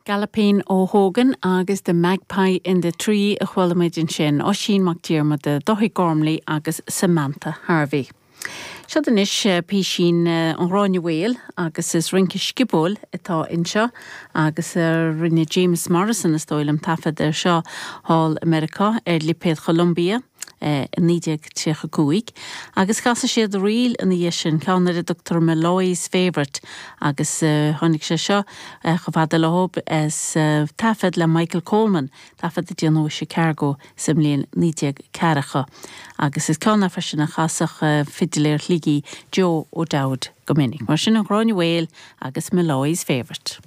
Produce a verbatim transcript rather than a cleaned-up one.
Galopin O'Hogan agus The Magpie in the Tree a chuala muid ansin Oisín Mac Diarmada, Dáithí Gormley agus Samantha Harvey. Seo anois písín an Ghráinne Mhaol agus is rince sciobóil atá anseo agus rinne James Morrison is dóigh liom taifead ar seo thall i Meiriceá ar lipéad Columbia. i naoi déag tríocha cúig, agus casadh siad ríl ina dhiaidh sin, ceann ar a dtugtar Molloy's Favourite, agus tháinig sé seo chomh fada leo as taifead le Michael Coleman, taifead a déanadh i Chicago sa mbliain naoi déag ceathracha. Agus is ceann é freisin a chasadh fidiléir Shligigh Joe O'Dowd go minic. Mar sin an Ghráinne Mhaol agus Molloy's Favourite.